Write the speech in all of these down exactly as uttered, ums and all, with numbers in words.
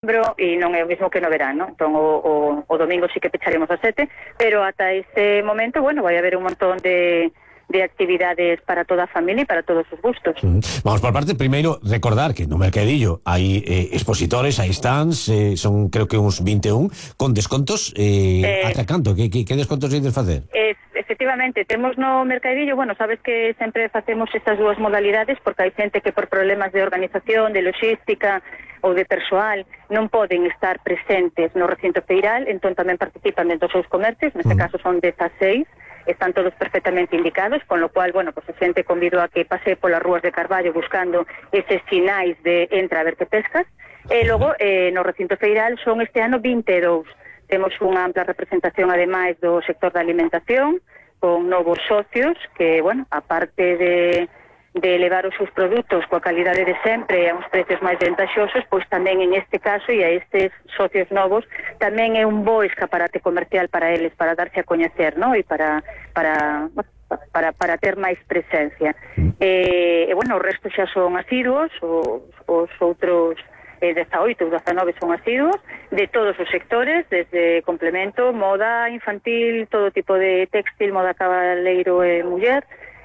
e non é o mesmo que no verano. Entón o, o, o domingo sí que pecharemos a sete, pero ata ese momento, bueno, vai haber un montón de, de actividades para toda a familia e para todos os gustos. Mm. Vamos por parte, primeiro recordar que no Mercadillo hai eh, expositores, hai stands, eh, son creo que uns vinte e un con descontos, eh, eh, ata canto? Que, que, que descontos ides facer? Es, efectivamente, temos no Mercadillo, bueno, sabes que sempre facemos estas dúas modalidades porque hai xente que por problemas de organización, de logística ou de persoal non poden estar presentes no recinto feiral, entón tamén participan dentro dos seus comercios, neste mm. caso son dezaseis, están todos perfectamente indicados, con lo cual, bueno, pues a xente convido a que pase polas rúas de Carballo buscando eses sinais de entra a ver que pescas, e logo eh, no recinto feiral son este ano vinte e dous, temos unha ampla representación ademais do sector da alimentación, con novos socios que, bueno, aparte de de elevar os seus produtos coa calidade de sempre a uns precios máis ventaxosos, pois tamén en este caso e a estes socios novos tamén é un bo escaparate comercial para eles, para darse a coñecer, ¿no? E para para para para ter máis presencia. E, e bueno, o resto xa son asiduos, os, os outros eh, dezaoito ou dezanove son asiduos de todos os sectores, desde complemento, moda infantil, todo tipo de textil, moda cabaleiro e muller,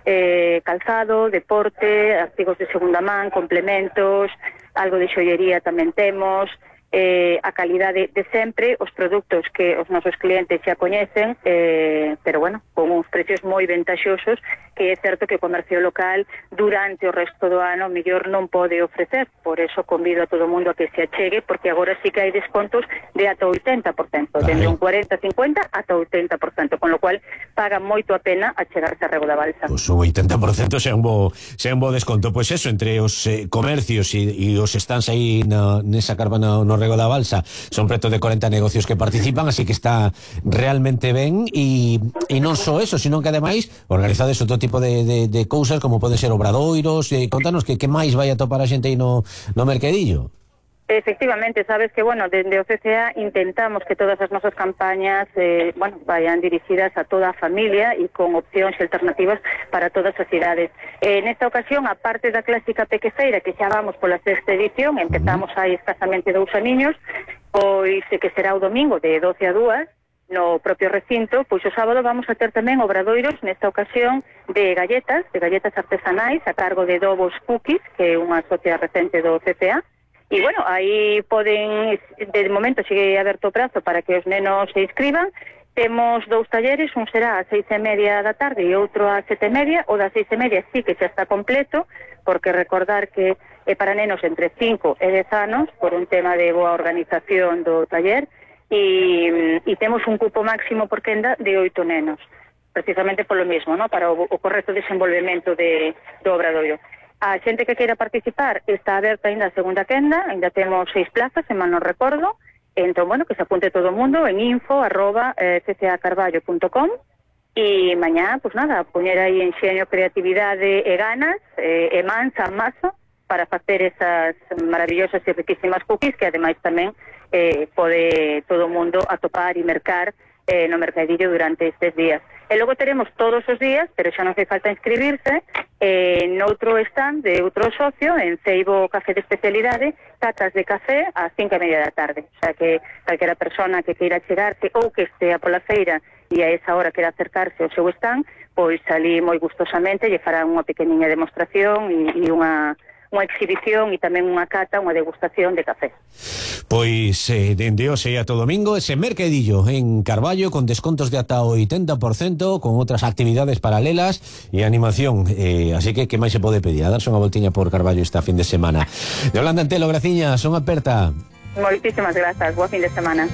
Eh, calzado, deporte, artigos de segunda man, complementos, algo de xoiería tamén temos, eh, a calidade de sempre, os produtos que os nosos clientes xa coñecen, eh, pero bueno, con uns precios moi ventaxosos, que é certo que o comercio local durante o resto do ano mellor non pode ofrecer, por eso convido a todo o mundo a que se achegue, porque agora sí que hai descontos de ata oitenta por cento, dende un cuarenta a cincuenta ata oitenta por cento, con lo cual paga moito a pena achegarse a Rego da Balsa. Pois o oitenta por cento xa un bo, xa un bo desconto. Pois eso, entre os eh, comercios e, e os stands aí na, nesa carva no, no Rego da Balsa, son preto de corenta negocios que participan, así que está realmente ben, e, e non só eso, sino que ademais organizades outro tipo de, de, de cousas como poden ser obradoiros, e contanos que, que máis vai a topar a xente aí no, no Mercadillo. Efectivamente, sabes que, bueno, dende o C C A intentamos que todas as nosas campañas eh, bueno, vayan dirixidas a toda a familia e con opcións e alternativas para todas as idades. Eh, nesta ocasión, a parte da clásica pequefeira, que xa vamos pola sexta edición, empezamos hai escasamente dous aniños, pois que será o domingo de doce a dúas, no propio recinto, pois o sábado vamos a ter tamén obradoiros, nesta ocasión, de galletas, de galletas artesanais, a cargo de Dobos Cookies, que é unha socia recente do C C A. E, bueno, aí poden, de momento sigue aberto o prazo para que os nenos se inscriban. Temos dous talleres, un será ás seis e media da tarde e outro ás sete e media. O das seis e media sí que xa está completo, porque recordar que é para nenos entre cinco e dez anos, por un tema de boa organización do taller, e, e temos un cupo máximo por quenda de oito nenos, precisamente polo mismo, ¿no? Para o, o correcto desenvolvemento de, do obradoiro. A xente que queira participar está aberta ainda a segunda quenda, ainda temos seis plazas, se mal non recordo, entón, bueno, que se apunte todo o mundo en info arroba c c a carballo punto com e mañá, pues nada, poñer aí enxeño, creatividade e ganas e, e mansa, masa para facer esas maravillosas e riquísimas cookies que ademais tamén eh, pode todo o mundo atopar e mercar eh, no Mercadillo durante estes días. E logo teremos todos os días, pero xa non fai falta inscribirse, eh, noutro stand de outro socio, en Ceibo Café de Especialidade, catas de café ás cinco e media da tarde. O sea que calquera persona que queira chegarse ou que estea pola feira e a esa hora queira acercarse ao seu stand, pois ali moi gustosamente lle fará unha pequeniña demostración e, e unha unha exhibición e tamén unha cata, unha degustación de café. Pois eh, dende hoxe a todo domingo ese Mercadillo en Carballo con descontos de ata oitenta por cento, con outras actividades paralelas e animación, eh, así que que máis se pode pedir? A darse unha voltiña por Carballo esta fin de semana. Yolanda Antelo, graciñas, son aperta. Moitísimas grazas, boa fin de semana.